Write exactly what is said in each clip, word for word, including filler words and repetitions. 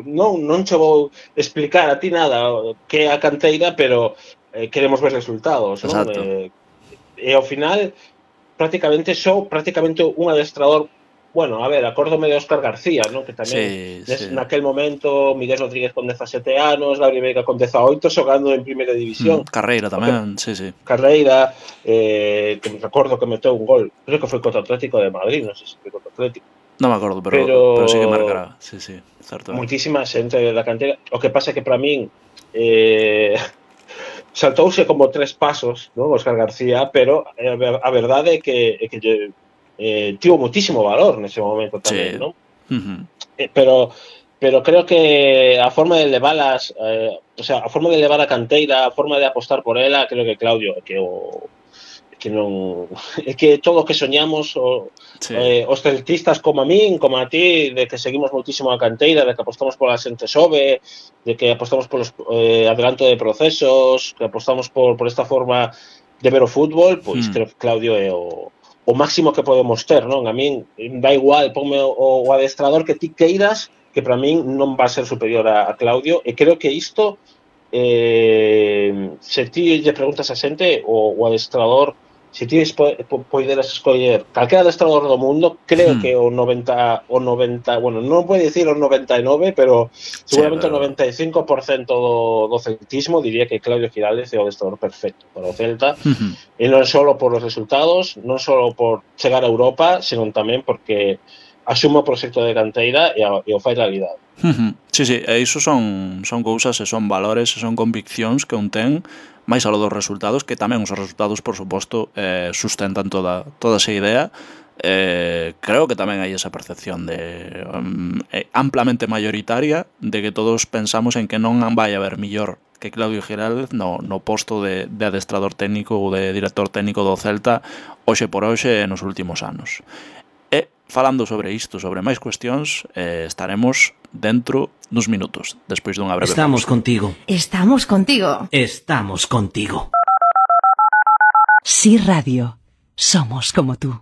non, non che vou explicar a ti nada que é a canteira, pero eh, queremos ver resultados, non? Exacto. Eh, e ao final, prácticamente só, prácticamente un adestrador, bueno, a ver, acórdome de Óscar García, non? Que tamén, Sí, nes, sí. naquel momento, Miguel Rodríguez con dezasete anos, Gabriel Veiga con dezaoito, xogando en primeira Mm, división. Carreira O que tamén, sí, sí. Carreira, eh, que me recordo que meteu un gol, creo que foi contra o Atlético de Madrid, non sei se foi contra o Atlético, Non me acordo, pero pero sí que pero marcará. Sí, sí, certo é. moitísima xente da cantera. O que pasa é que para min eh, saltouse como tres pasos, non, Óscar García, pero eh, a verdade é que, é que eh, tivo moitísimo valor nese momento tamén, Sí. non? Uh-huh. Eh, pero pero creo que a forma de levalas, eh, o sea, a forma de levar a canteira, a forma de apostar por ela, creo que Claudio, que o que non é que todo o que soñamos o, Sí. eh, os celtistas como a min, como a ti, de que seguimos moitísimo a canteira, de que apostamos pola xente xove, de que apostamos polos eh, adelanto de procesos, que apostamos por, por esta forma de ver o fútbol, pois Hmm. creo que Claudio é o, o máximo que podemos ter, non? A min dá igual, ponme o, o adestrador que ti queiras, que para min non va a ser superior a, a Claudio, e creo que isto eh, se ti lle preguntas a xente o, o adestrador, se ti poderas escoller calquera adestrador do mundo, creo Hmm. que o noventa, o noventa, bueno, non pode dicir o noventa e nove, pero Sí, seguramente pero... o noventa e cinco por cento do, do celtismo diría que Claudio Giraldez é o adestrador perfecto para o Celta, Uh-huh. e non só por os resultados, non só por chegar a Europa, senón tamén porque asume o proxecto de canteira e, a, e o fai realidade. Uh-huh. Sí, sí, e iso son, son cousas e son valores e son conviccións que un ten máis alo dos resultados, que tamén os resultados, por suposto, eh, sustentan toda, toda esa idea. Eh, creo que tamén hai esa percepción de um, eh, amplamente mayoritaria de que todos pensamos en que non vai haber millor que Claudio Giraldez no, no posto de, de adestrador técnico ou de director técnico do Celta hoxe por hoxe nos últimos anos. E falando sobre isto, sobre máis cuestións, eh, estaremos dentro duns minutos, despois dunha breve Estamos pausa. contigo. Estamos contigo. Estamos contigo. Sí Radio. Somos como tú.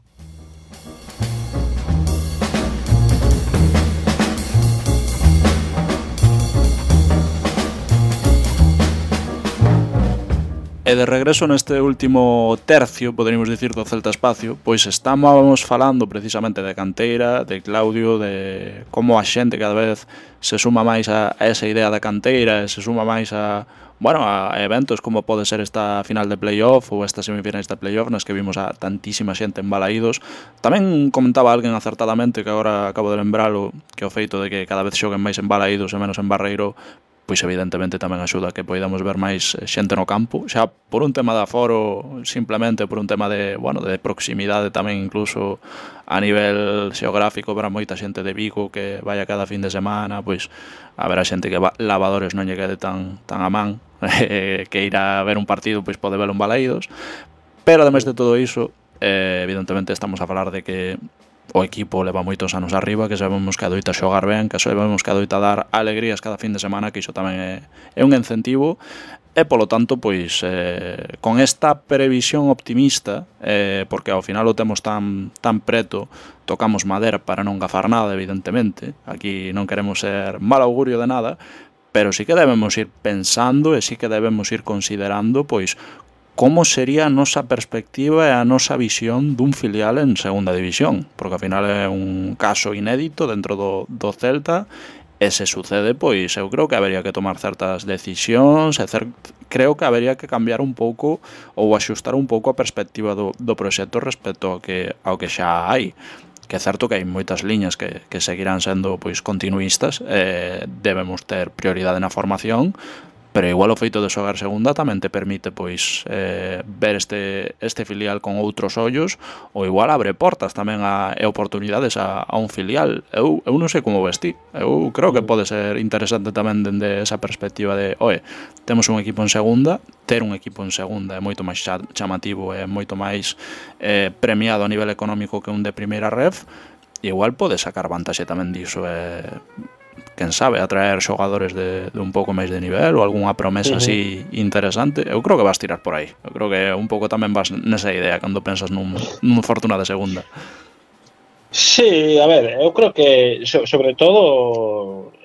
E de regreso neste último tercio, poderíamos dicir, do Celta Espacio, pois estábamos falando precisamente de canteira, de Claudio, de como a xente cada vez se suma máis a, a esa idea da canteira, e se suma máis a, bueno, a eventos como pode ser esta final de playoff ou esta semifinais de playoff nas que vimos a tantísima xente en Balaídos. Tamén comentaba alguén acertadamente, que agora acabo de lembralo, que o feito de que cada vez xoguen máis en Balaídos e menos en Barreiro, pois evidentemente tamén axuda a que poidamos ver máis xente no campo, xa por un tema de aforo, simplemente por un tema de, bueno, de proximidade tamén, incluso a nivel xeográfico para moita xente de Vigo que vaya cada fin de semana, pois a ver a xente que va, lavadores non lle quede tan, tan a man, que ir a ver un partido pois pode velo en Balaídos, pero ademais de todo iso, eh, evidentemente estamos a falar de que o equipo leva moitos anos arriba, que sabemos que adoita xogar ben, que sabemos que adoita dar alegrías cada fin de semana, que iso tamén é, é un incentivo, e polo tanto, pois, eh, con esta previsión optimista, eh, porque ao final o temos tan, tan preto, tocamos madera para non gafar nada, evidentemente, aquí non queremos ser mal augurio de nada, pero sí que debemos ir pensando e sí que debemos ir considerando, pois, como sería a nosa perspectiva e a nosa visión dun filial en segunda división, porque ao final é un caso inédito dentro do, do Celta, e se sucede, pois eu creo que habería que tomar certas decisións, e cer, creo que habería que cambiar un pouco ou axustar un pouco a perspectiva do, do proxecto respecto ao que, ao que xa hai. Que é certo que hai moitas liñas que, que seguirán sendo pois continuistas, e debemos ter prioridade na formación, pero igual o feito de xogar segunda tamén te permite pois eh, ver este, este filial con outros ollos, ou igual abre portas tamén a, e oportunidades a, a un filial. Eu, eu non sei como vesti, eu creo que pode ser interesante tamén dende esa perspectiva de, oe, temos un equipo en segunda, ter un equipo en segunda é moito máis chamativo, é moito máis eh, premiado a nivel económico que un de primeira ref, e igual pode sacar vantaxe tamén diso, e quen sabe, atraer xogadores de, de un pouco máis de nivel ou algunha promesa uh-huh. así interesante. Eu creo que vas tirar por aí. Eu creo que un pouco tamén vas nesa idea cando pensas nun, nun Fortuna de segunda. Sí, a ver, eu creo que so, sobre todo